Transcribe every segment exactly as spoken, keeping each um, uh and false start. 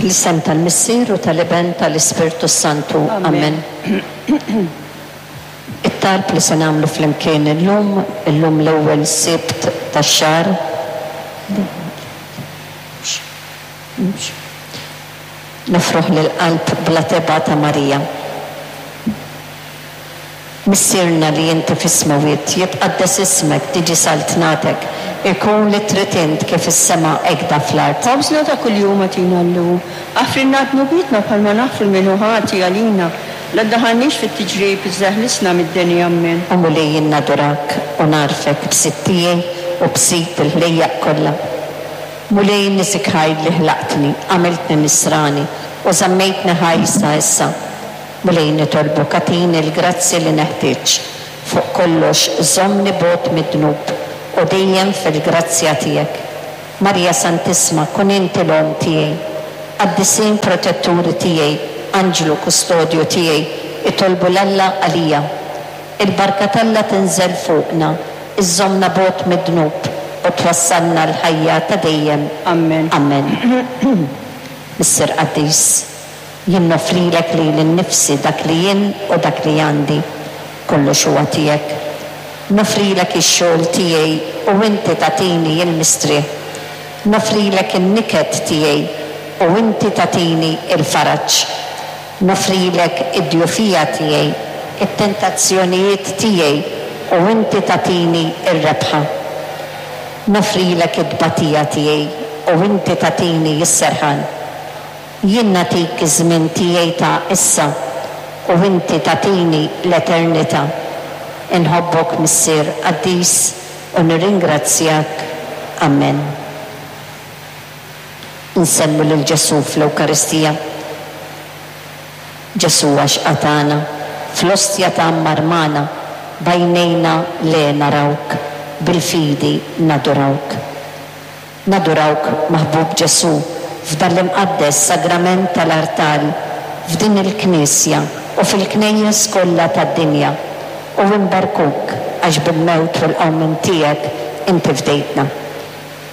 Fl-isem tal-Missier u tal-Iben tal-Ispirtu Santu. Amen. It-talb li se nagħmlu flimkien illum, illum l-ewwel Sibt tax-xahar. Nofruh lill-Qalb bla tebgħa ta' Marija. Missierna li inti fis-smewwiet, jitqaddes ismek, tiġi saltnatek, ikun li trid int kif fis-sema hekk fl-art. Ħobżna ta' kuljum agħtina llum. Aħfrilna dnubietna bħalma naħfru lil min hu ħati għalina. La ddaħħalniex fit-tiġrib, iżda eħlisna mid-deni. Ammen. O Mulej, jien nadurak u nagħrfek b'Sid tiegħi u b'Sid il-ħlejjaq kollha. Mulej, niżik ħajr li ħlaqtni, għamiltni nisrani u żammejtni ħaj sa issa. Mulej, nitolbok agħtini l-grazzi li neħtieġ. Fuq kollox żommni bogħod mid-dnub u dejjem fil-grazzja tiegħek. Marija Santissma, kun inti l-omm tiegħi. Qaddisin protetturi tiegħi, anġlu kustodju tiegħi, itolbu 'l Alla għalija. Il-barka t'Alla tinżel fuqna, iżżommna bogħod mid-dnub u twassalna l-ħajja ta' dejjem. Amen. Amen. Missier qaddis, jien noffrilek lili nnifsi, dak li jien u dak li għandi, kollox huwa tiegħek. Noffrilek ix-xogħol tiegħi u inti tagħtini l-mistrieħ. Noffrilek in-niket tiegħi u inti tagħtini l-faraġ. Noffrilek id-djufija tiegħi, it-tentazzjonijiet tiegħi u inti tagħtini r-rebħa. Noffrilek it-tbatija tiegħi u inti tagħtini s-serħan. Jien nagħtik iż-żmien tiegħi ta' issa u inti tagħtini l-eternità. Inħobbok, Missier qaddis, u nirringrazzjak. Amen. Insellmu lil Ġesù fl-Ewkaristija. Ġesù għax qatana, fl-ostja tgħammar magħna, b'għajnejna le narawk, bil-fidi nadurawk. Nadurawk, maħbub Ġesù, f'dan l-imqaddes sagrament tal-artal, f'din il-knisja u fil-knejjes kollha tad-dinja, u nberkuk għax bil-mewt u l-qawmien tiegħek inti fdejtna.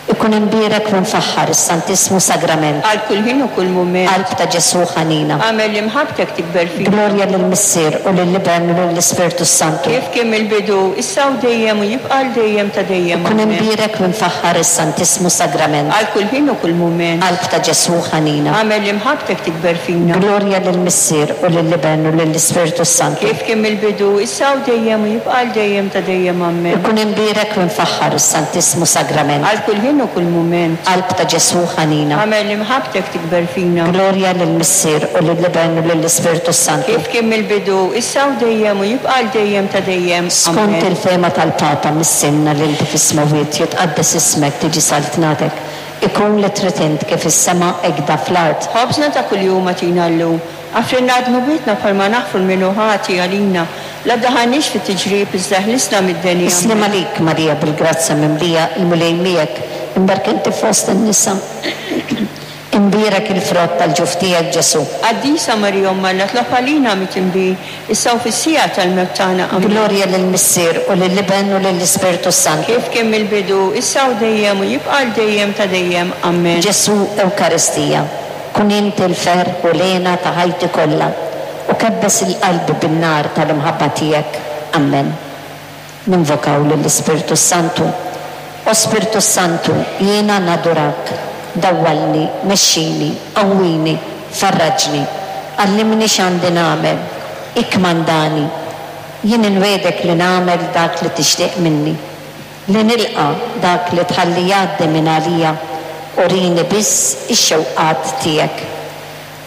Ikun imbierek u mfaħħar is-Santissmu Sagrament. Għal kull ħin u kull mument. Qalb ta' Ġesù ħanina. Agħmel li mħabbtek tikber fina. Glorja lill-Missier u lill-Iben u lill-Ispirtu Santu. Kif kien mill-bidu, issa u dejjem u jibqa' għal dejjem ta' dejjem. Ikun imbierek u mfaħħar is-Santissmu Sagrament. Għal kull ħin u kull mument. Qalb ta' Ġesù ħanina. Agħmel li mħabbtek tikber fina. Glorja lill-Missier u lill-Iben u lill-Ispirtu Santu. Kif kien mill-bidu, issa u dejjem u jibqa' għal dejjem ta' dejjem. Amen. Ikun imbierek u mfaħħar is-Santissmu Sagrament. Għal kull ħin u kull mument. Qalb ta' Ġesù ħanina. Agħmel li mħabbtek tikber fina. Glorja lill-Missier u lill-Iben u lill-Ispirtu Santu. Kif kien mill-bidu, issa u dejjem u jibqa' għal dejjem ta' dejjem. Skont il-fehma tal-Papa, Missierna li inti fis-smewwiet, jitqaddes ismek, tiġi saltnatek, ikun li trid int kif is-sema hekk fl-art. Ħobżna ta' kuljum agħtina llum. Aħfrilna dnubietna bħalma naħfru lil min hu ħati għalina. La ddaħħalniex fit-tiġrib, iżda ħlisna mid-deni. Is-sliem għalik, Marija, bil-grazzja mimlija, il-Mulej miegħek, imbierka inti fost in-nisa. Imbierek il-frott tal-ġuf tiegħek, Ġesù. Qaddisa Marija Omm Alla, itlob għalina midinbin, issa u fis-siegħa tal-mewt tagħna. Amen. Glorja lill-Missier u lill-Iben u lill-Ispirtu Santu. Kif kien mill-bidu, issa u dejjem u jibqa' għal dejjem ta' dejjem. Amen. Ġesù Ewkaristija, kun inti l-ferħ u l-hena ta' ħajti kollha, u kebbes il-qalbi bin-nar tal-imħabba tiegħek. Amen. Ninvokaw lill-Ispirtu Santu. O Spirtu Santu, jiena nadurak, dawwalni, mexxini, qawwini, farraġni, għallimni x'għandi nagħmel, ikkmandani. Jien inwegħdek li nagħmel dak li tixtieq minni, li nilqa' dak li tħalli jgħaddi minn għalija, urini biss ix-xewqat tiegħek.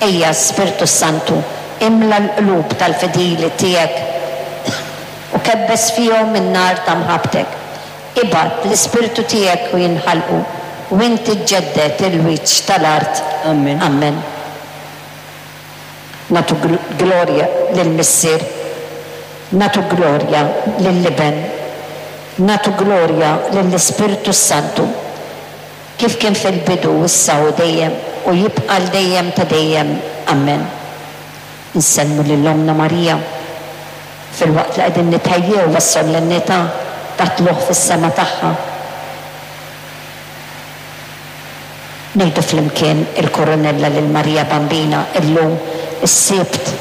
Ejja, Spirtu Santu, imla l-qlub tal-fidili tiegħek u kebbes fihom in-nar ta' mħabbtek. Ibgħat l-Ispirtu tiegħek u jinħalqu, u inti ġġedded il-wiċċ tal-art. Amen. Amen. Nagħtu glorja lill-Missier, nagħtu glorja lill-Iben, nagħtu glorja lill-Ispirtu Santu, kif kien fil-bidu, issa u dejjem, u jibqa' għal dejjem ta' dejjem. Amen. Insellmu lil Ommna Marija fil-waqt li qegħdin nitħejjew għas-solennità ta' tlugħ fis-sema tagħha. Ngħidu flimkien il-Koronella lil Marija Bambina illum is-Sibt.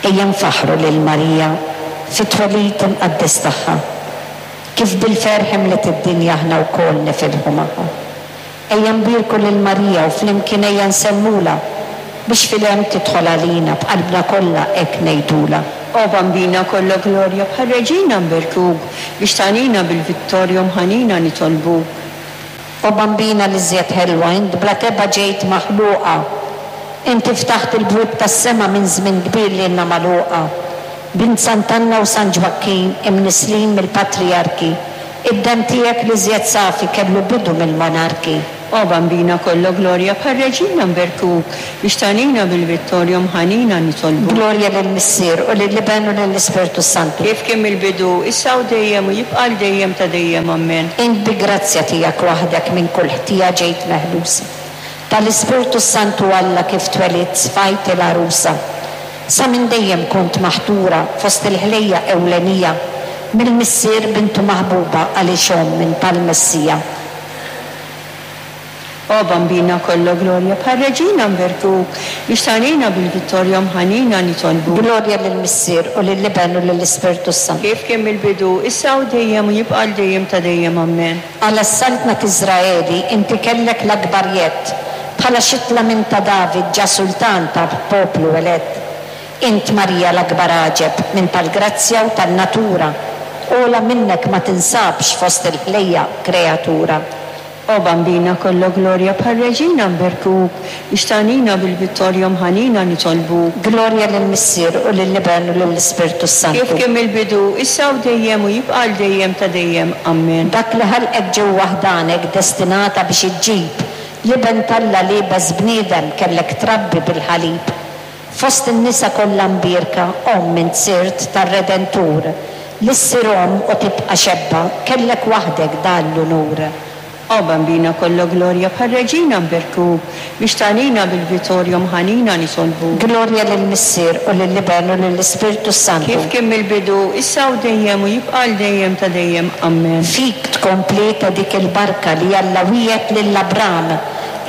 Ejja nfaħħru lil Marija fit-twelid imqaddes tagħha, kif bil-ferħ imliet id-dinja aħna wkoll nifirħu magħha. Ejja nbierku lil Marija u flimkien ejja nsellmulha biex fil-hemm tidħol għalina b'qalbna kollha hekk ngħidulha. O Bambina kollha glorja, bħal reġina nberkuk, biex tagħnina bil-vittorja mħanina nitolbuk. O Bambina li żjed ħelwa, int bla teba ġejt maħluqa. Inti ftaħt il-bwieb tas-sema minn żmien kbir li ilna magħluqa. Bint Sant'Anna u San Ġwakkin imnisslin mill-patrijarki, id-demm tiegħek li żjed safi kellu bidu mill-monarki. O Bambina kollha glorja, bħal reġina nberkuk, biex tagħnina bil-vittorja mħanina nitolbuk. Glorja lill-Missier u lill-Iben u lill-Ispirtu Santu. Kif kien mill-bidu, issa u dejjem u jibqa' għal dejjem ta' dejjem. Ammen. Int bi grazzja tiegħek waħdek minn kull ħtija ġejt meħlusa. Tal-Ispirtu Santu Alla kif twelidt sfajt il-għarusa. Sa minn dejjem kont maħtura fost il-ħlejja ewlenija, mill-Missier bintu maħbuba għaliex omm minn tal-Messija. O Bambina kollha glorja, bħal reġina nberkuk, biex tagħnina bil-vittorja mħanina nitolbuk. Glorja lill-Missier u lill-Iben u lill-Ispirtu Santu. Kif kien mill-bidu, issa u dejjem u jibqa' għal dejjem ta' dejjem. Ammen. Għala s-saltna t'Iżraeli inti kellek l-akbar jedd, bħala xitla minn ta' David ġa sultan ta' poplu elett. Int Marija l-akbar għaġeb minn tal-grazzja u tan-natura, ola minnek ma tinsabx fost il-ħlejja kreatura. O Bambina kollha glorja, bħal reġina nberkuk, biex tagħnina bil-vittorja mħanina nitolbuk. Glorja lill-Missier u lill-Iben u lill-Ispirtu Santu. Kif kien mill-bidu, issa u dejjem u jibqa' għal dejjem ta' dejjem. Ammen. Dak li ħalqek ġewwa ħdanek destinata biex iġġib l-Iben t'Alla liebes bniedem kellek trabbi bil-ħalib. Fost in-nisa kollha mbierka, omm int sirt tar-Redentur, li ssir omm u tibqa' xebba, kellek waħdek dan l-unur. O Bambina kollha glorja, bħal reġina nberkuk, biex tagħnina bil-vittorja mħanina nitolbuk. Glorja lill-Missier u lill-Iben u lill-Ispirtu Santu. Kif kien mill-bidu, issa u dejjem u jibqa' għal dejjem ta' dejjem. Ammen. Fik tkompleta dik il-barka li Alla wiegħed lil Abram,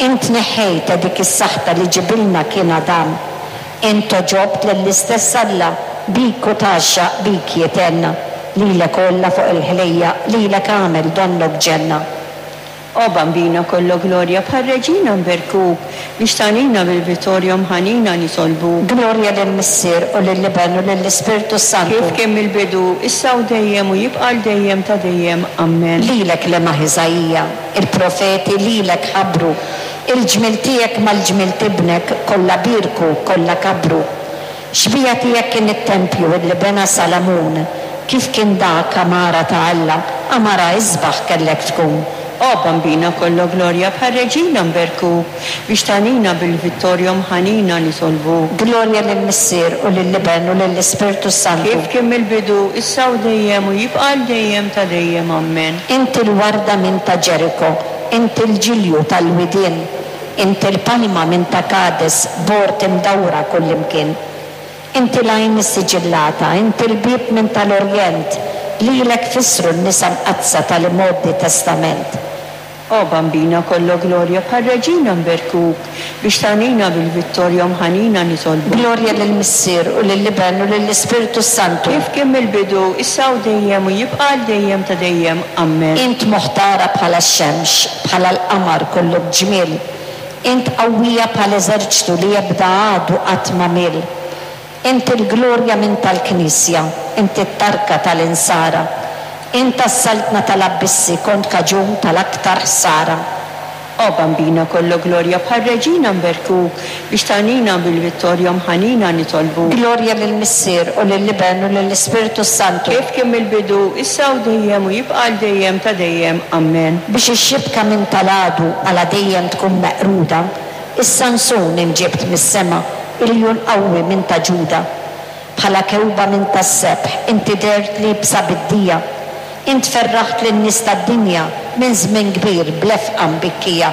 int neħħejta dik is-saħta li ġibilna kien Adam. Int toġobt lill-istess Alla, bik u tgħaxxaq bik jitenna, lilek kollha fuq il-ħlejja, lilek għamel donnok ġenna. O Bambina kollha glorja, bħal reġina nberkuk, biex tagħnina bil-vittorja mħanina nitolbuk. Glorja lill-Missier u lill-Iben u lill-Ispirtu Santu. Kif kien mill-bidu, issa u dejjem u jibqa' għal dejjem ta' dejjem. Ammen. Lilek lemaħ Iżaija, il-profeti lilek ħabbru, il-ġmiel tiegħek mal-ġmiel tibnek kollha bierku, kollha kabru. Xbija tiegħek kien it-tempju illi bena Salamun, kif kien dak għamara ta' Alla, għamara isbaħ kellek tkun. O Bambina kollha glorja, bħal reġina nberkuk, biex tagħnina bil-vittorja mħanina nitolbuk. Glorja lill-Missier u lill-Iben u lill-Ispirtu Santu. Kif kien mill-bidu, issa u dejjem u jibqa' għal dejjem ta' dejjem. Ammen. Inti l-warda minn ta' Ġeriko, inti l-ġilju tal-widien, inti l-palma minn ta' Kades, bord imdawra kullimkien. Inti l-għajn issiġillata, inti l-bieb minn tal-Orjent, lilek fissru n-nisa mqaddsa tal-imgħoddi testament. O Bambina kollha glorja, bħal reġina nberkuk, biex tagħnina bil-vittorja mħanina nitolbuk. Glorja lill-Missier u lill-Iben u lill-Ispirtu Santu. Kif kien mill-bidu, issa u dejjem u jibqa' għal dejjem ta' dejjem. Ammen. Int moħtara bħala x-xemx, bħala l-qamar kollu b'ġmiel. Int qawwija bħala eżerċtu li jebda għadu qatt ma miel. Int il-glorja minn tal-Knisja, int it-tarka tal-insara. Int tas-saltna tal-abbissi kont kaġun tal-aktar ħsara. O Bambina kollha glorja, bħal reġina nberkuk, biex tagħnina bil-vittorja mħanina nitolbuk. Glorja lill-Missier u lill-Iben u lill-Ispirtu Santu. Kif kien mill-bidu, issa u dejjem u jibqa' għal dejjem ta' dejjem. Ammen. Biex ix-xibka minn tal-għadu għala dejjem tkun meqruda, is-Sansun imġibt mis-sema, iljun qawwi minn ta' Ġuda. Bħala kewba minn tas-sebħ, inti dert liebsa bid-dija. Int ferraħt lin-nies tad-dinja minn żmien kbir blefqa mbikkija.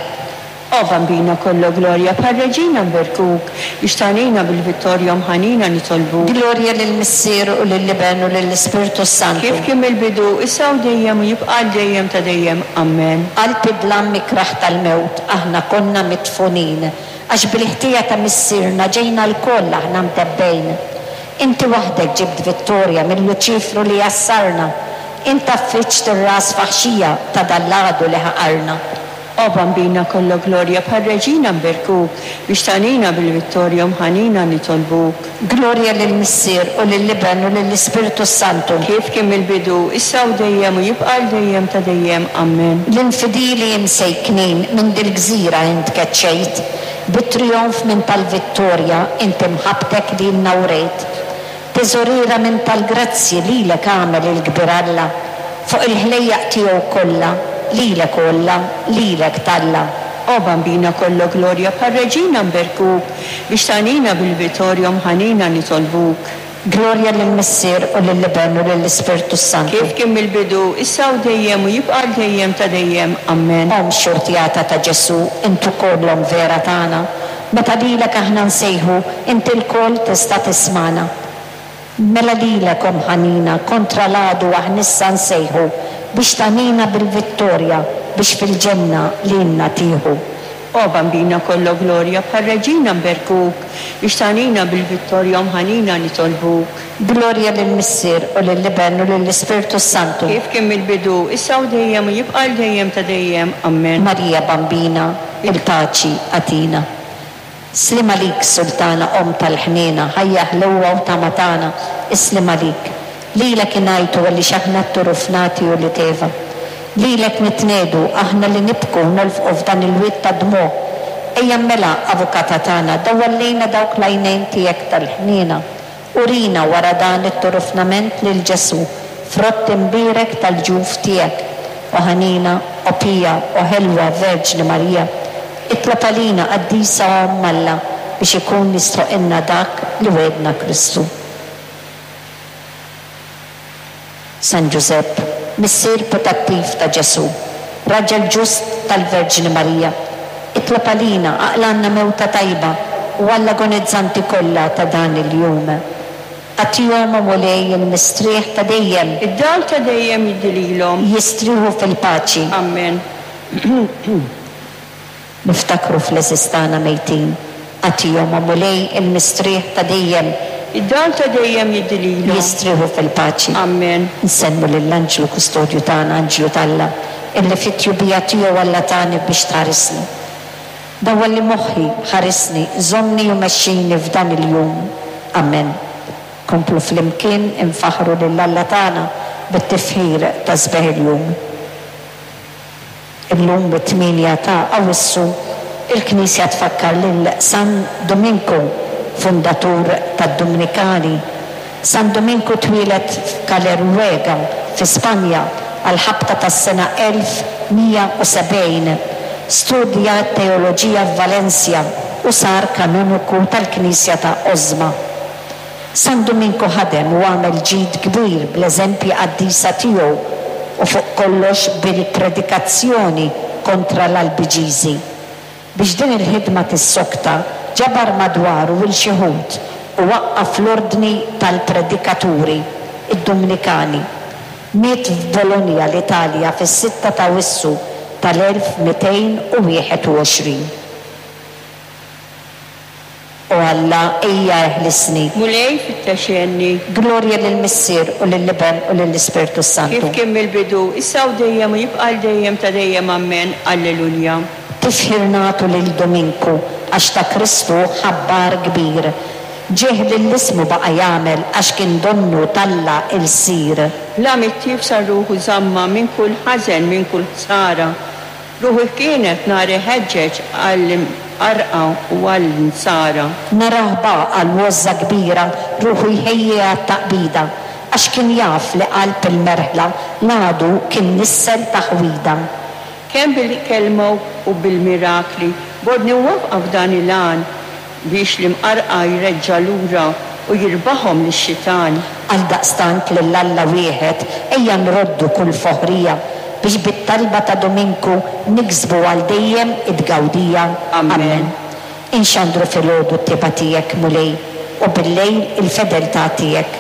O Bambina kollu glorja, bħal reġina nberkuk, biex tagħnina bil-vittorja mħanina nitolbuk. Glorja lill-Missier u lill-Iben u lill-Ispirtu Santu. Kif kien mill-bidu, issa u dejjem u jibqa' dejjem ta' dejjem. Amen. Qalb id-dlam ikraħ tal-mewt aħna konna midfunin, għax bil-ħtija ta' missierna ġejna lkoll aħna mtebbgħin. Inti waħdek ġibt vittorja minn Luċifru li jassarna, int għaffiġt ir-ras faħxija ta' dal-għadu li ħaqarna. O Bambina kollu glorja, bħal reġina nberkuk, biex tagħnina bil-vittorja mħanina nitolbuk. Glorja lill-Missier u lill-Iben u lill-Ispirtu Santu. Kif kien mill-bidu, issa u dejjem u jibqa' dejjem ta' dejjem. Amen. L-infidili imsejknin minn dil-gżira int keċċejt, bit-trijonf minn tal-vittorja int imħabbtek lilna wrejt. Teżoriera minn tal-grazzji lilek għamel il-kbir Alla, fuq il-ħlejjaq tiegħu kollha, lilek kollha, lilek talla. O Bambina kollu glorja, bħal reġina nberkuk, biex tagħnina bil-vittorja mħanina nitolbuk. Glorja lill-Missier u lill-Iben u lill-Ispirtu Santu. Kif kien mill-bidu, issa u dejjem u jibqa' dejjem ta' dejjem. Amen. Omm xortjata ta' Ġesù, int ukoll omm vera tagħna. Meta lilek aħna nsejħu, inti lkoll tista' tismagħna. Mela lilek omm ħanina, kontra l-għadu aħna issa nsejħu, biex tagħnina bil-vittorja, biex fil-ġenna lilna tieħu. O Bambina kollu glorja, bħal reġina nberkuk, biex tagħnina bil-vittorja mħanina nitolbuk. Glorja lill-Missier u lill-Iben u lill-Ispirtu Santu. Kif kien mill-bidu, issa u dejjem u jibqa' dejjem ta' dejjem. Amen. Marija Bambina, il-paċi agħtina. Sliem għalik, Sultana, Omm tal-ħniena, ħajja ħlewwa u tama tagħna, isliem għalik. Lilek ingħajtu għaliex aħna t-turufnati u li teva. Lilek nitnedu aħna li nibku nolfqu f'dan il-wied ta' dmugħ. Ejja mela, avukata tagħna, dawwal lejna dawk l-għajnejn tiegħek tal-ħniena. Urina wara dan it-turufnament lil Ġesù, frott imbierek tal-ġuf tiegħek. O ħanina, o pija, o ħelwa Verġni Marija, itlob għalina qaddisa Omm Alla biex ikun jistħoqilna dak li wegħedna Kristu. San Ġużepp, missier putattiv ta' Ġesù, raġel ġust tal-Verġni Marija, itlob għalina aqlanna mewta tajba u għall-agonizzanti kollha ta' dan il-jum. Agħtihom, o Mulej, il-mistrieħ ta' dejjem. Id-dawl ta' dejjem jiddi lilhom. Jistrieħu fil-paċi. Amen. Niftakru fl-għeżież tagħna mejtin. Agħtihom, o Mulej, il-mistrieħ ta' dejjem. Id-dawl ta' dejjem jiddi lilhom. Jistrieħu fil-paċi. Amen. Nsemmu lill-anġlu kustodju tagħna, anġlu t'Alla, illi fit-tjubija tiegħu Alla tani biex tħarisni. Dawwal li moħħi, ħarisni, żommni u mexxini f'dan il-jum. Amen. Komplu flimkien infaħru lil Alla tagħna bit-tifħir ta' sbeħ il-jum. Illum bit-tmienja ta' Awwissu il-Knisja tfakkar lil San Dominku, fundatur tad-Dominikani. San Dominku twieled f'Caleruega fi Spanja għal-ħabta tas-sena elf mija u sebgħin. Studja teoloġija f'Valencia u sar kanoniku tal-Knisja ta' Osma. San Dominku ħadem u għamel ġid kbir bl-eżempji qaddisa tiegħu u fuq kollox bil-predikazzjoni kontra l-Albiġiżi. Biex din il-ħidma tissokta, ġabar madwaru il xi ħut u waqqaf l-ordni tal-predikaturi, id-Dominikani. Miet f'Bologna, l-Italja, fis-sitta ta' Awwissu tal-elf mitejn u wieħed u għoxrin. O Alla, ejja eħlisni. Mulej fittex għenni. Glorja lill-Missier u lill-Iben u lill-Ispirtu Santu. Kif kien mill-bidu, issa u dejjem u jibqa' dejjem ta' dejjem. Amen. Alleluja. Tifħir nagħtu lil Dominku għax ta' Kristu ħabbar kbir. Ġieħ lill-ismu baqa' jagħmel għax kien donnu talla il-sir. La mittif sar ruħu żamma minn kull ħażen, minn kull ħsara. Ruħu kienet nar iħeġġeġ għall-imqarqa u għall-insara. Narah baqa' l-wozza kbira, ruħu jħejji għat-taqbida, għax kien jaf li qalb il-merħla l-għadu kien nissel taħwida. Kemm bil-kelma u bil-mirakli, bodni wafqa f'dan il-għan biex l-imqarqa jreġġa' lura u jirbaħhom lix-xitan. Għaldaqstant lil Alla wieħed ejja nroddu kull foħrija biex bit-talba ta' Duminku niksbu għal dejjem it-tgawdija. Amen. Inxandru filgħodu t-tjieba tiegħek, Mulej, u bil-lejl il-fedeltà tiegħek.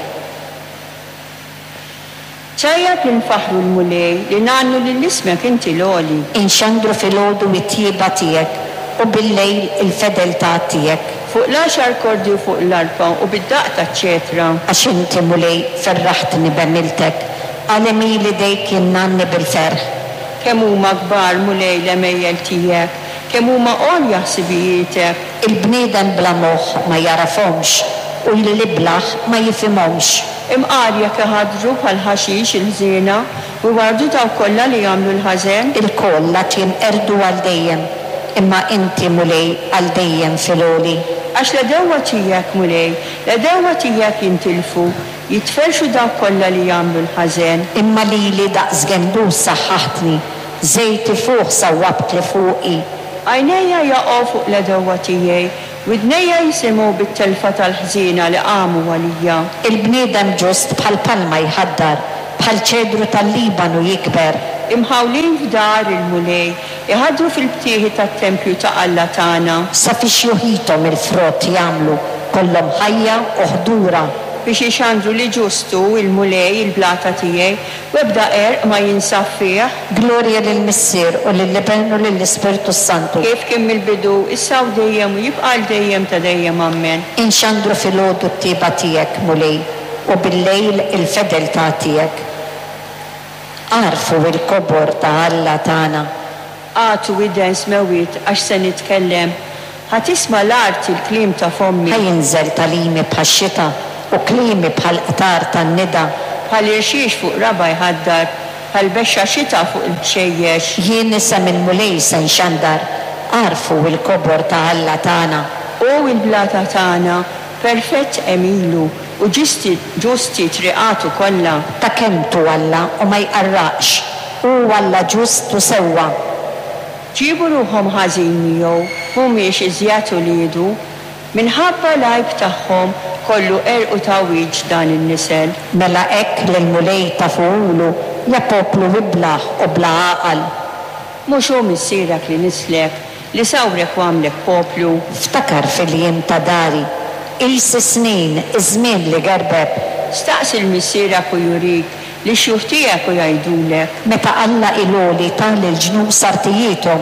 Tajjeb li nfaħħru l-Mulej, li ngħannu lil ismek inti l-għoli. Inxandru filgħodu t-tjieba tiegħek u bil-lejl il-fedeltà tiegħek. Fuq l-għaxar kordi u fuq l-arpa u bid-daqq taċ-ċetra. Għax inti, Mulej, ferraħtni b'għemiltek, għal għemil idejk jien ngħanni bil-ferħ. Kemm huma kbar, Mulej, l-għemejjel tiegħek, kemm huma għolja ħsibijietek. Il-bniedem bla moħħ ma jagħrafhomx u l-iblah ma jifhimhomx. Imqar jekk iħaddru bħal ħaxix il-ħżiena u jwarrdu dawk kollha li jagħmlu l-ħażen. Ilkoll għad jinqerdu għal dejjem, imma inti, Mulej, għal dejjem fil-għoli. Għax l-għedewwa tiegħek, Mulej, l-għedewwa tiegħek jintilfu, jitferrxu dawk kollha li jagħmlu l-ħażen. Imma lili daqs gendus saħħaħtni, żejt ifuħ sawwabtli fuqi. Għajnejja jaqgħu fuq l-għedewwa tiegħi, widnejja jisimgħu bit-telfa tal-ħżiena li qamu għalija. Il-bniedem ġust bħal palma jħaddar, bħal ċedru tal-Libanu jikber. Imħawlin f'dar il-Mulej, iħaddru fil-btieħi tat-tempju ta' Alla tagħna. Sa fi xjuħithom il-frott jagħmlu, kollhom ħajja u ħdura. Biex ixandru li ġustu il-Mulej il-blata tiegħi, u ebda qerq ma jinsab fih. Glorja lill-Missier u lill-Iben u lill-Ispirtu Santu. Kif kien mill-bidu, issa u dejjem u jibqa' għal dejjem ta' dejjem. Amen. Inxandru filgħodu t-tjieba tiegħek, Mulej, u bil-lejl il-fedeltà tiegħek. Agħrfu il-kobor ta' Alla tagħna. Agħtu widen smewwiet għax se nitkellem. Ħa tisma' l-art il-kliem ta' fommi. Ħa jinżel tagħlimi bħax-xita u kliemi bħal qtar tan-nida. Bħal irxix fuq raba' jħaddar, bħal bexxa xita fuq il-ħxejjex. Jien isem il-Mulej se nxandar, agħrfu il-kobor ta' Alla tagħna. U il-blata tagħna, perfett għemilu u ġusti, ġusti triqatu kollha. Ta' kelmtu Alla u ma jqarraqx, hu Alla ġust u sewwa. Ġibu ruħhom ħażin miegħu, mhumiex iżjed uliedu, minħabba l-għajb tagħhom kollu qerq u tgħawwiġ dan in-nisel. Mela hekk lill-Mulej tafuhulu, ja poplu iblah u bla għaqal. Mhux hu missierek li nislek, li sawrek u għamlek poplu. Ftakar fil-jiem ta' dari, qis is-snin, iż-żmien li gerbeb. Staqsi 'l missierek u jurik, lix-xjuħ tiegħek u jgħidulek. Meta Alla il-għoli ta lill-ġnus artijiethom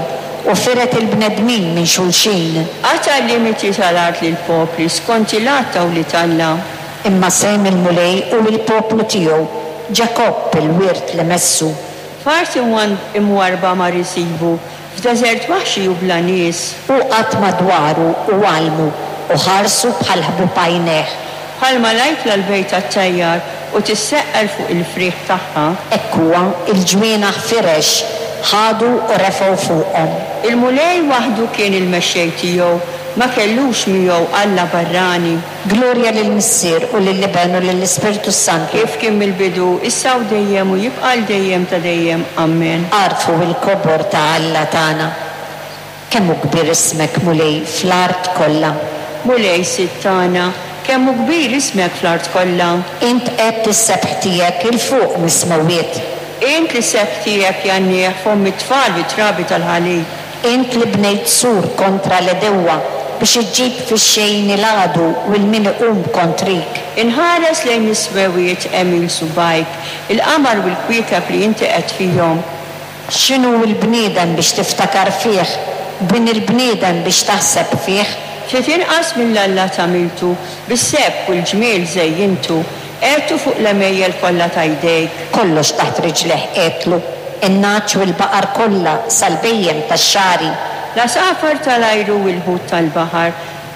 u firet il-bnedmin minn xulxin. Qata' l-limiti tal-art lill-popli skont il-għadd ta' wlied Alla. Imma sehem il-Mulej hu l-poplu tiegħu, Ġakobb il-wirt li messu. F'art imwarrba mar isibu, f'deżert waħxi u bla nies. Hu qagħad madwaru u għallmu u ħarsu bħal ħbub għajnejh. Bħalma l-ajkla l-bejta ttajjar u tisseqqel fuq il-frieħ tagħha. Hekk huwa il-ġwienaħ firex, ħadu u refgħu fuqhom. Il-Mulej waħdu kien il-mexxej tiegħu, ma kellux miegħu Alla barrani. Glorja lill-Missier u lill-Iben u lill-Ispirtu Santu. Kif kien mill-bidu, issa u dejjem u jibqa' għal dejjem ta' dejjem. Amen. Agħrfu il-kobor ta' Alla tagħna. Kemm hu kbir ismek, Mulej, fl-art kollha. Mulej Sid tagħna, kemm hu kbir ismek fl-art kollha. Int qegħedt is-sebħ tiegħek 'il fuq mis-smewwiet. Int li sebħ tiegħek jgħannih fomm it-tfal bit-trabi tal-ħalib. Int li bnejt sur kontra l-għedewwa biex iġġib fix-xejn il-għadu u l-min iqum kontrik. Inħares lejn is-smewwiet għemil subgħajk, il-qamar u l-kwiekeb li inti qed fihom. X'inhu l-bniedem biex tiftakar fih, bin il-bniedem biex taħseb fih? Ftit inqas mill-Alla tagħmiltu, bis-sebħ u l-ġmiel żejjintu, qegħedtu fuq l-għemejjel kollha ta' jdejk. Kollox taħt riġlejh qegħedtlu, in-nagħaġ u l-baqar kollha sal-bhejjem tax-xagħri. L-għasafar tal-ajru u l-ħut tal-baħar,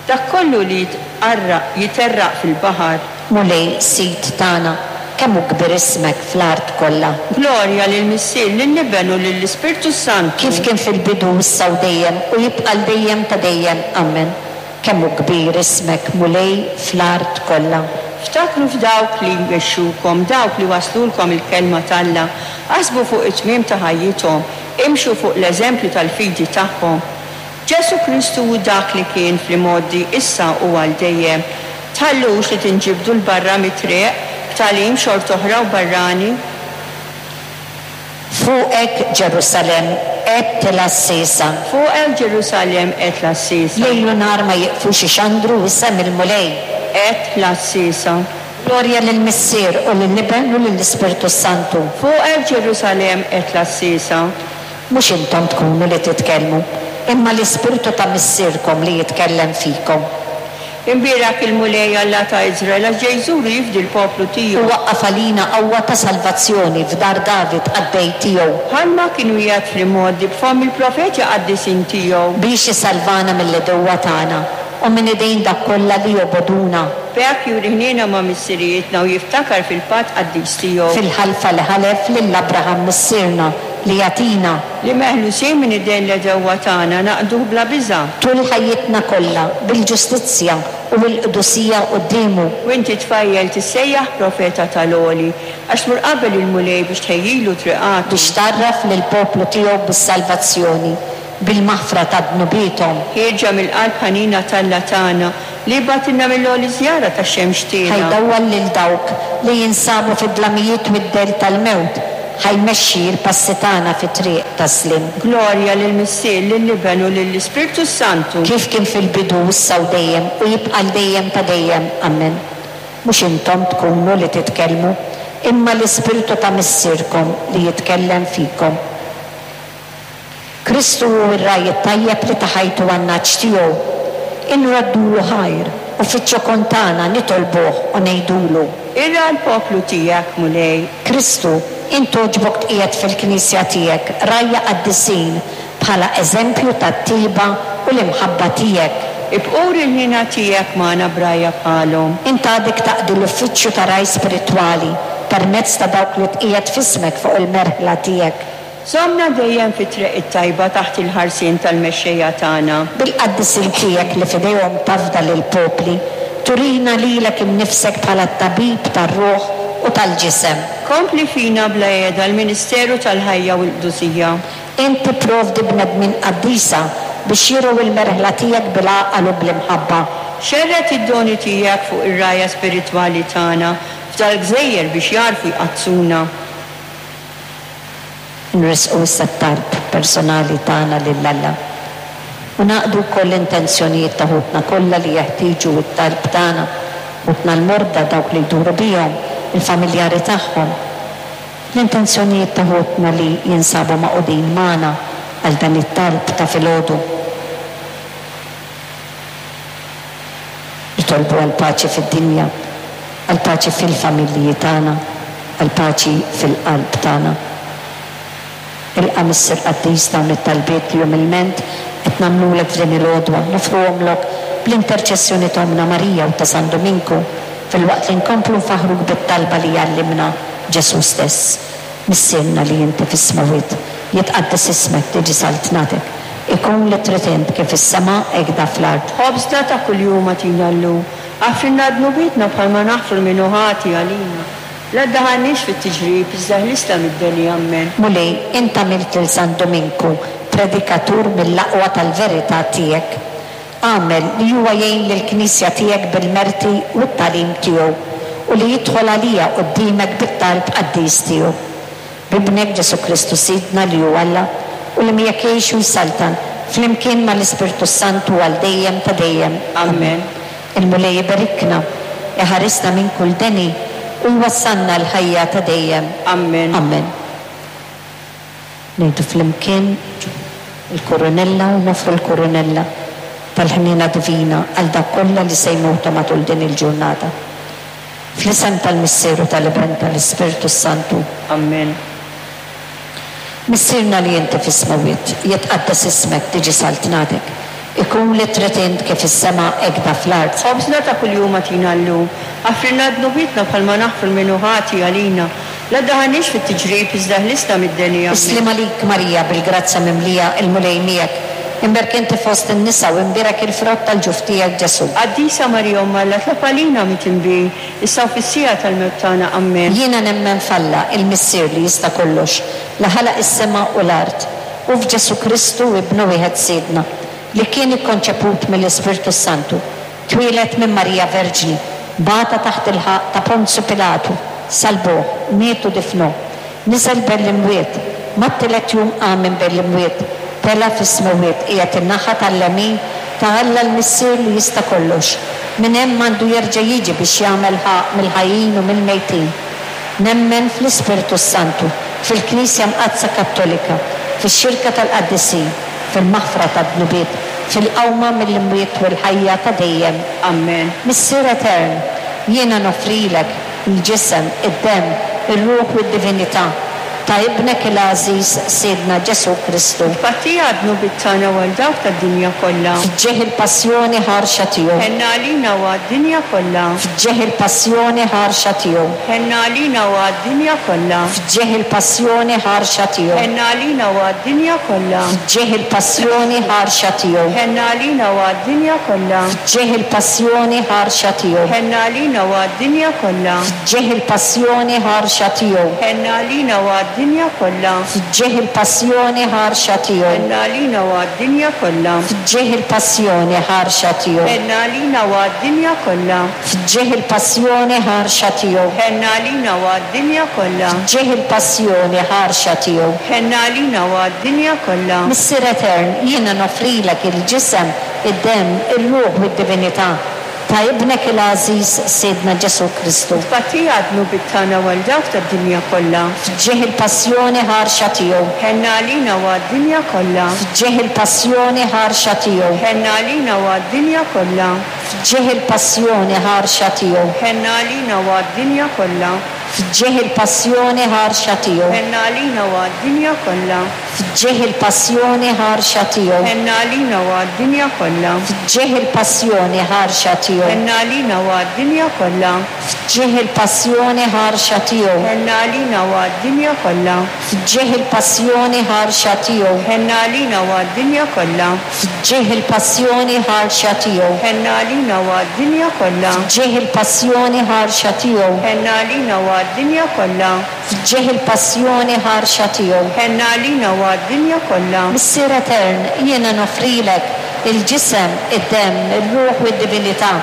dak kollu li jitqarraq, jiterraq fil-baħar. Mulej Sid tagħna, kemm hu kbir ismek fl-art kollha. Glorja lill-Missier, lill-Iben u lill-Ispirtu Santu. Kif kien fil-bidu issa u dejjem u jibqa' għal dejjem ta' dejjem. Amen. Kemm hu kbir ismek, Mulej, fl-art kollha. Ftakru f'dawk li jmexxukom, dawk li waslulkom il-kelma t'Alla, aħsbu fuq it-tmiem ta' ħajjithom, imxu fuq l-eżempju tal-fidi tagħhom. Ġesù Kristu hu dak li kien fl-imgħoddi, issa u għal dejjem. Tħallux li tinġibdu 'l barra mit-triq b'tagħlim xort'oħra u barrani. Fuqek Ġerusalemm, għedt l-għassiesa. Fuqek Ġerusalemm, għedt l-għassiesa. Lejl u nhar ma jiqfux ixandru isem il-Mulej. Għedt l-għassiesa. Glorja lill-Missier u lill-Iben u lill-Ispirtu Santu. Fuqek Ġerusalemm, għedt l-għassiesa. Mhux intom tkunu li titkellmu, imma l-Ispirtu ta' Missierkom li jitkellem fikom. Imbierek il-Mulej Alla ta' Iżrael għax ġej iżur u jifdi l-poplu U tiegħu. waqqaf għalina qawwa ta' salvazzjoni f'dar David qaddej tiegħu. Bħalma kien wiegħed fl-imgħoddi b'fomm il-profeti qaddisin tiegħu. Biex isalvana mill-għedewwa tagħna u minn idejn dawk kollha li jobogħduna. B'hekk juri ħniena ma' missirijietna u jiftakar fil-patt qaddis tiegħu. Fil-ħalfa li ħalef lil Abraham missierna li jagħtina. Li meħlusin minn idejn l-għedewwa tagħna naqduh bla biża'. Tul ħajjitna kollha bil-ġustizzja u bil-qdusija quddiemu. U inti tfajjel tissejjaħ profeta tal-Għoli, għax tmur qabel il-Mulej biex tħejjilu triqatu. Biex tgħarraf lill-poplu tiegħu bis-salvazzjoni, bil-maħfra ta' dnubiethom. Ħierġa mill-qalb ħanina t'Alla tagħna li bagħtilna mill-għoli żjara tax-xemx tiegħna. Ħa jdawwal lil dawk li jinsabu fid-dlamijiet u d-dell tal-mewt, ħa jmexxi l-passi tagħna fit-triq tas-sliem. Glorja lill-Missier, lill-Iben u lill-Ispirtu Santu. Kif kien fil-bidu issa u dejjem u jibqa' l dejjem ta' dejjem. Amen. Mhux intom tkunu li titkellmu, imma l-Ispirtu ta' Missierkom li jitkellem fikom. Kristu hu r-ragħaj it-tajjeb li ta ħajtu għan-nagħaġ tiegħu. Inraddulu ħajr u fiċ-ċokon tagħna nitolbuh u ngħidulu. Irgħa l-poplu tiegħek, Mulej. Kristu, int togħġbok tqiegħed fil-Knisja tiegħek rgħajja qaddisin bħala eżempju tat-tiba u l-imħabba tiegħek. Ibqa' uri l-ħniena tiegħek magħna b'rgħajja bħalhom. Int għadek taqdi l-uffiċċju ta' ragħaj spiritwali permezz ta' dawk li tqiegħed f'ismek fuq il-merħla tiegħek. Żommna dejjem fit-triq it-tajba taħt il-ħarsien tal-mexxejja tagħna. Bil-qaddisin tiegħek li f'idejhom tafda lill-popli, turina lilek innifsek bħala t-tabib tar-ruħ u tal-ġisem. Kompli fina bla heda l-Ministeru tal-ħajja u l-qdusija. Int tipprovdi bnedmin qaddisa biex jirgħu il-merħla tiegħek bil-għaqal u bl-imħabba. Xerred id-doni tiegħek fuq ir-rgħajja spiritwali tagħna f'dal-gżejjer biex jagħrfu jqaddsuna. Nresqu issa t-talb personali tagħna lil Alla. U nagħqdu wkoll l-intenzjonijiet ta' ħutna kollha li jeħtieġu t-talb tagħna, ħutna l-morda, dawk li jduru bihom, il-familjari tagħhom. L-intenzjonijiet ta' ħutna li jinsabu magħqudin magħna għal dan it-talb ta' filgħodu. Nitolbu għall-paċi fid-dinja, għall-paċi fil-familji tagħna, għall-paċi fil-qalb tagħna. Ilqa' Missier Qaddis dawn it-talbiet li umilment qed nagħmlulek f'din il-għodwa, nofruhomlok bl-interċessjoni ta' Ommna Marija u ta' San Dominku, filwaqt li nkomplu nfaħruk bit-talba li jgħallimna Ġesù stess. Missierna li inti fis-smewwiet, jitqaddes ismek, tiġi saltnatek, ikun li trid int kif is-sema hekk da fl-art. Ħobżna ta' kuljum agħtina llum, aghfrilna dnubietna bħalma naħfru min hu ħati għalina. La ddaħħalniex fit-tiġrib, iżda ħlisna mid-deni. Amen. Mulej, int għamilt lil San Dominku predikatur mill-aqwa tal-verità tiegħek. Għamel li huwa jgħin lill-Knisja tiegħek bil-merti u t-tagħlim tiegħu u li jidħol għalija quddiemek bit-talb qaddis tiegħu. B'Ibnek Ġesù Kristu Sidna li hu Alla u li miegħek jgħix u jsaltan flimkien mal-Ispirtu Santu għal dejjem ta' dejjem. Amen. Il-Mulej iberikna, iħarisna minn kull deni u jwassalna l-ħajja ta' dejjem. Amen. Amen. Ngħidu flimkien il-Kurunella u nofru l-Kurunella tal-ħniena divina għal dak kollha li se jmutu matul din il-ġurnata. Fl-isem tal-Missier u tal-Iben tal-Ispirtu Santu. Amen. Missierna li inti fis-smewwiet, jitqaddes ismek, tiġi saltnatek, ikun li trid int kif is-sema hekk da fl-art. Ħobżna ta' kuljum agħtina llum, aghfrilna dnubietna bħalma naħfru lil min hu ħati għalina. La ddaħħalniex fit-tiġrib, iżda ħlisna mid-deni. Amen. Is-sliem għalik Marija, bil-grazzja mimlija, il-Mulej miegħek. Imbierek inti fost in-nisa u imbierek il-frott tal-ġuf tiegħek Ġesù. Qaddisa Marija Omm Alla, tlob għalina midinbin, issa u fis-siegħa tal-mewt tagħna. Amen. Jiena nemmen f'Alla, il-Missier li jista' kollox, li ħalaq is-sema u l-art, u f'Ġesù Kristu Ibnu wieħed Sidna, li kien ikkonċeput mill-Ispirtu Santu, twieled minn Marija Verġni, bata taħt il-ħaqq ta' Ponzju Pilatu, salbuh, miet u difnuh, niżel bel-imwiet, Mat-tielet jum qam minn bejn l-imwiet, tela' fis-smewwiet, qiegħed in-naħa tal-lemin ta' Alla l-Missier li jista' kollox. Minn hemm għandu jerġa' jiġi biex jagħmel ħaqq mill-ħajjin u mill-mejtin. Nemmen fl-Ispirtu Santu, fil-Knisja Mqaddsa Kattolika, fix-xirka tal-qaddisin, fil-maħfra tad-dnubiet, fil-qawma mill-imwiet u l-ħajja ta' dejjem. Amen. Missier Etern, jiena noffrilek il-ġisem, id-demm, ir-ruħ u d-divinità ta' Ibnek il-għażiż Sidna Ġesù Kristu. Tpattija għad-dnubiet tagħna u għal dawk tad-dinja kollha. F'ġieħ il-passjoni ħarxa tiegħu. Ħenna għalina u għad-dinja kollha. F'ġieħ il-passjoni ħarxa tiegħu. Ħenna għalina u għad-dinja kollha. F'ġieħ il-passjoni ħarxa tiegħu. Ħenna għalina u għad-dinja kollha. F'ġieħ il-passjoni ħarxa tiegħu. Ħenna għalina u għad-dinja kollha. F'ġieħ il-passjoni ħarxa tiegħu. Ħenna għalina u għad-dinja kollha. F'ġieħ il-passjoni ħarxa tiegħu. Ħenna għalina u għad-dinja kollha. F'ġieħ il-passjoni ħarxa tiegħu. Ħenna għalina u għad-dinja kollha. F'ġieħ il-passjoni ħarxa tiegħu. Ħenna għalina u għad-dinja kollha. F'ġieħ il-passjoni ħarxa tiegħu. Ħenna għalina u għad-dinja kollha. F'ġieħ il-passjoni ħarxa tiegħu. Ħenna għalina u għad-dinja kollha. Missier Etern, jiena noffrilek il-ġisem, id-demm, ir-ruħ u d-divinità ta' Ibnek il-għażiż Sidna Ġesù Kristu. Tpattija għad-dnubiet tagħna u għal dawk tad-dinja kollha. F'ġieħ il-passjoni ħarxa tiegħu. Ħenna għalina u għad-dinja kollha. F'ġieħ il-passjoni ħarxa tiegħu. Ħenna għalina u għad-dinja kollha. F'ġieħ il-passjoni ħarxa tiegħu. Ħenna għalina u għad-dinja kollha. F'ġieħ il-passjoni ħarxa tiegħu. Ħenna għalina u għad-dinja kollha. F'ġieħ il-passjoni ħarxa tiegħu. Ħenna għalina u għad-dinja kollha. F'ġieħ il-passjoni ħarxa tiegħu. Ħenna għalina u għad-dinja kollha. F'ġieħ il-passjoni ħarxa tiegħu. Ħenna għalina u għad-dinja kollha. F'ġieħ il-passjoni ħarxa tiegħu. Ħenna għalina u għad-dinja kollha. F'ġieħ il-passjoni ħarxa tiegħu. Ħenna għalina u għad-dinja kollha. F'ġieħ il-passjoni ħarxa tiegħu. Ħenna għalina u għad-dinja kollha. F'ġieħ il-passjoni ħarxa tiegħu. Ħenna għalina u għad-dinja kollha. Missier Etern, jiena noffrilek il-ġisem, id-demm, ir-ruħ u d-divinità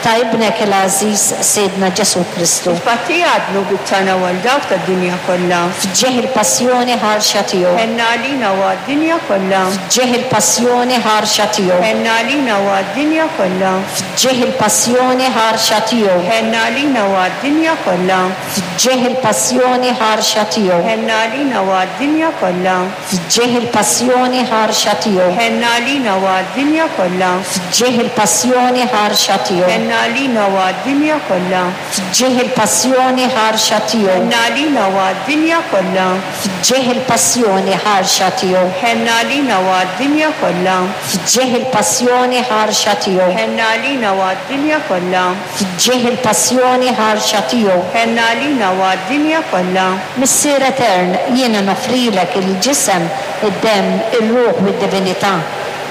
ta' Ibnek il-għażiż Sidna Ġesù Kristu. Tpattija għad-dnubiet tagħna u għal dawk tad-dinja kollha. F'ġieħ il-passjoni ħarxa tiegħu. Ħenna għalina u għad-dinja kollha. F'ġieħ il-passjoni ħarxa tiegħu. Ħenna għalina u għad-dinja kollha. F'ġieħ il-passjoni ħarxa tiegħu. Ħenna għalina u għad-dinja kollha. F'ġieħ il-passjoni ħarxa tiegħu. Ħenna għalina u għad-dinja kollha. F'ġieħ il-passjoni ħarxa tiegħu. Ħenna għalina u għad-dinja kollha. F'ġieħ il-passjoni ħarxa tiegħu. Ħenna għalina u għad-dinja kollha. F'ġieħ il-passjoni ħarxa tiegħu. Ħenna għalina u għad-dinja kollha. F'ġieħ il-passjoni ħarxa tiegħu. Ħenna għalina u għad-dinja kollha. F'ġieħ il-passjoni ħarxa tiegħu. Ħenna għalina u għad-dinja kollha. F'ġieħ il-passjoni ħarxa tiegħu. Ħenna għalina u għad-dinja kollha. Missier Etern, jiena noffrilek il-ġisem, id-demm, ir-ruħ u d-divinità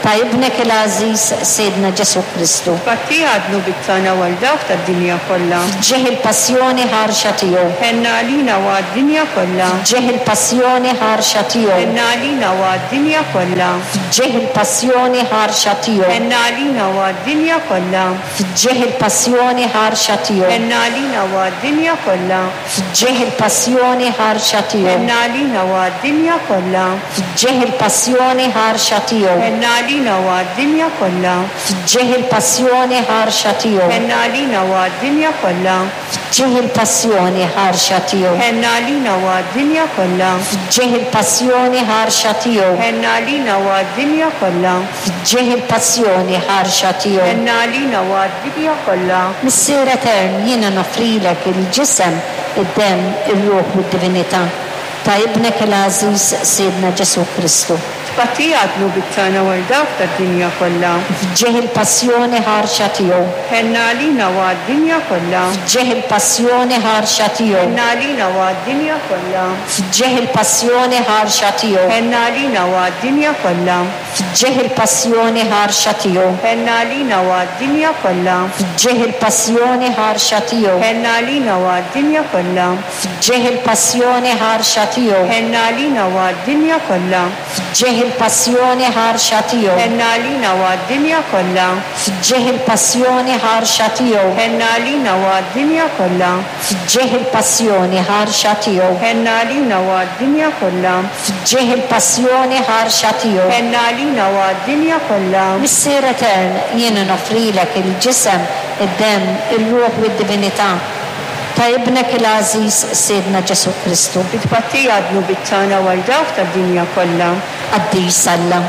ta' Ibnek il-għażiż Sidna Ġesù Kristu. Tpattija għad-dnubiet tagħna u għal dawk tad-dinja kollha. F'ġieħ il-passjoni ħarxa tiegħu. Ħenna għalina u għad-dinja kollha. F'ġieħ il-passjoni ħarxa tiegħu. Ħenna għalina u għad-dinja kollha. F'ġieħ il-passjoni ħarxa tiegħu. Ħenna għalina u għad-dinja kollha. F'ġieħ il-passjoni ħarxa tiegħu. Ħenna għalina u għad-dinja kollha. F'ġieħ il-passjoni ħarxa tiegħu. Ħenna għalina u għad-dinja kollha. F'ġieħ il-passjoni ħarxa tiegħu. Ħenna għalina u għad-dinja kollha. F'ġieħ il-passjoni ħarxa tiegħu. Ħenna għalina u għad-dinja kollha. F'ġieħ il-passjoni ħarxa tiegħu. Ħenna għalina u għad-dinja kollha. F'ġieħ il-passjoni ħarxa tiegħu. Ħenna għalina u għad-dinja kollha. F'ġieħ il-passjoni ħarxa tiegħu. Ħenna għalina u għad-dinja kollha. Missier Etern, jiena noffrilek il-ġisem, id-demm, ir-ruħ u d-divinità ta' Ibnek il-għażiż Sidna Ġesù Kristu. Tpattija għad-dnubiet tagħna u għal dawk tad-dinja kollha. F'ġieħ il-passjoni ħarxa tiegħu. Ħenna għalina u għad-dinja kollha. F'ġieħ il-passjoni ħarxa tiegħu. Ħenna għalina u għad-dinja kollha. F'ġieħ il-passjoni ħarxa tiegħu. Ħenna għalina u għad-dinja kollha. F'ġieħ il-passjoni ħarxa tiegħu. Ħenna għalina u għad-dinja kollha. F'ġieħ il-passjoni ħarxa tiegħu. Ħenna għalina u għad-dinja kollha. F'ġieħ il-passjoni ħarxa tiegħu. Ħenn għalina u għad-dinja kollha. F'ġieħ il-passjoni ħarxa tiegħu. Ħenn għalina u għad-dinja kollha. F'ġieħ il-passjoni ħarxa tiegħu. Ħenn għalina u għad-dinja kollha. F'ġieħ il-passjoni ħarxa tiegħu. Ħenn għalina u għad-dinja kollha. F'ġieħ il-passjoni ħarxa tiegħu. Ħenn għalina u għad-dinja kollha. Missier Etern, jiena noffrilek il-ġisem, id-demm, ir-ruħ u d-divinità ta' ibnek il-għażiż Sidna Ġesù Kristu. Bi tpattija għad-dnubiet tagħna u għal dawk tad-dinja kollha. Qaddis Alla,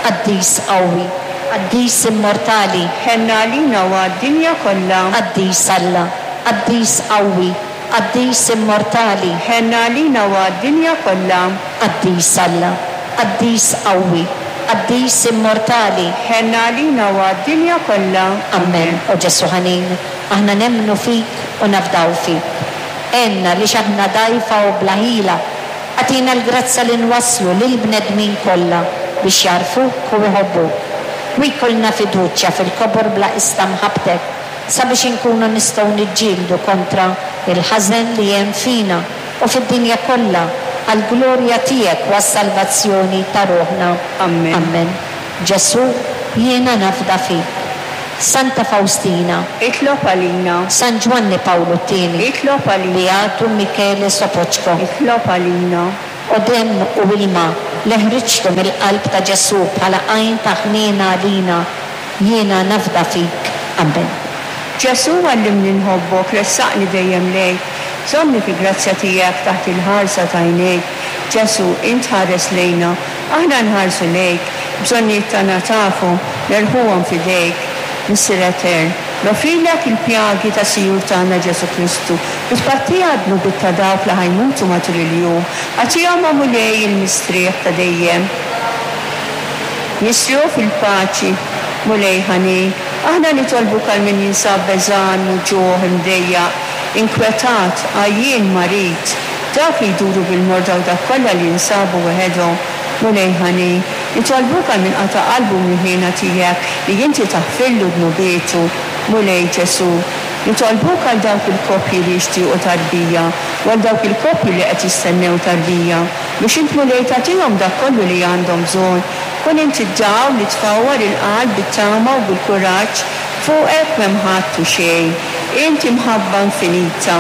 qaddis qawwi, qaddis immortali. Ħenn għalina u għad-dinja kollha. Qaddis Alla, qaddis qawwi, qaddis immortali. Ħenn għalina u għad-dinja kollha. Qaddis Alla, qaddis qawwi, qaddis immortali. Ħenn għalina u għad-dinja kollha. Amen. O Ġesù ħanin, aħna nemmnu fik u nafdaw fik. Għinna li aħna dgħajfa u bla ħila, agħtina l-grazzja li nwasslu lill-bnedmin kollha biex jagħrfuk u jħobbuk. U jkollna fiduċja fil-kobor bla qies ta' mħabbtek sabiex inkunu nistgħu niġġieldu kontra il-ħażen li hemm fina u fid-dinja kollha għall-glorja tiegħek u għas-salvazzjoni ta' ruħna. Amen. Amen. Ġesù, jiena nafda fik. Santa Faustina, Itlob għalina. San Ġwanni Pawlu t-tieni, Itlob għalina. Beatu Michele Sopoċko. Itlob għalina. O demm u ilma li ħriġtu mill-qalb ta' Ġesù bħala għajn ta' ħniena għalina, jiena nafda fik. Amen. Ġesù għallimni nħobbok, ressaqni dejjem lejk, żommni fi grazzja tiegħek taħt il-ħarsa ta' għajnejk. Ġesù, int ħares lejna, aħna nħarsu lejk, bżonnijiet tagħna tafu, nerħuhom f'idejk. Missier Etern, noffrilek il-pjagi tas-Sinjur tagħna Ġesù Kristu, bi tpattija għad-dnubiet ta' dawk li ħa jmutu matul il-jum, agħtihom o Mulej il-mistrieħ ta' dejjem. Nistrieħu fil-paċi, Mulej ħanin, aħna nitolbuk għal min jinsab beżgħan, muġugħ, imdejjaq, inkwetat, għajjien, marid, dawk li jduru bil-morda u dak kollha li jinsabu weħedhom. Mulej ħanin, nitolbuk għal min qata' qalbu mill-ħniena tiegħek li inti taħfirlu dnubietu. Mulej Ġesù, nitolbuk għal dawk il-koppji li jixtiequ tarbija u għal dawk il-koppji li qed jistennew tarbija, biex int Mulej tagħtihom dak kollu li għandhom bżonn. Kun inti d-dawl li tfawwar il-qalb bit-tama u bil-kuraġġ, fuqek m'hemm ħadd u xejn. Inti mħabba infinita,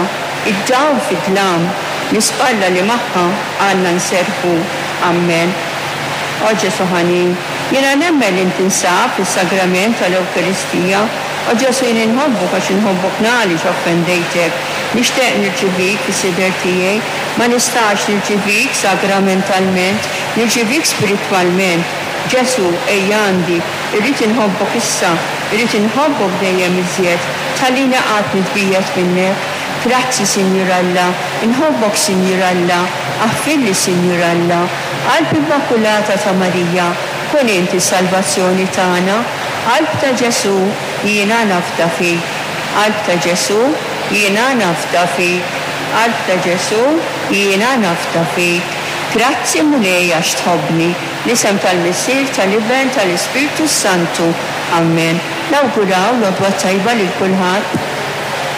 id-dawl fid-dlam, l-ispalla li magħha għandna nserrħu. Amen. O Ġesù ħanin, jiena nemmen li inti tinsab fis-sagrament tal-Ewkaristija. O Ġesù, jien inħobbok għax inħobbok għaliex offendejtek. Nixtieq nirċivik fis-sider tiegħi, ma nistax nirċivik sagramentalment, nirċivik spiritwalment. Ġesù, ejja għandi, irrid inħobbok issa, irrid inħobbok dejjem iżjed, tħallini qatt nitbiegħed minnek. Grazzi, Sinjur Alla, inħobbok, Sinjur Alla, aħfirli, Sinjur Alla. Qalb Immakulata ta' Marija, kun inti salvazzjoni tagħna. Qalb ta' Ġesù, jiena nafda fik. Qalb ta' Ġesù, jiena nafda fik. Qalb ta' Ġesù, jiena nafda fik. Grazzi Mulej għax tħobbni. L-isem tal-Missier, tal-Iben, tal-Ispirtu Santu. Amen. Nawguraw l-għodwa tajba lil kulħadd.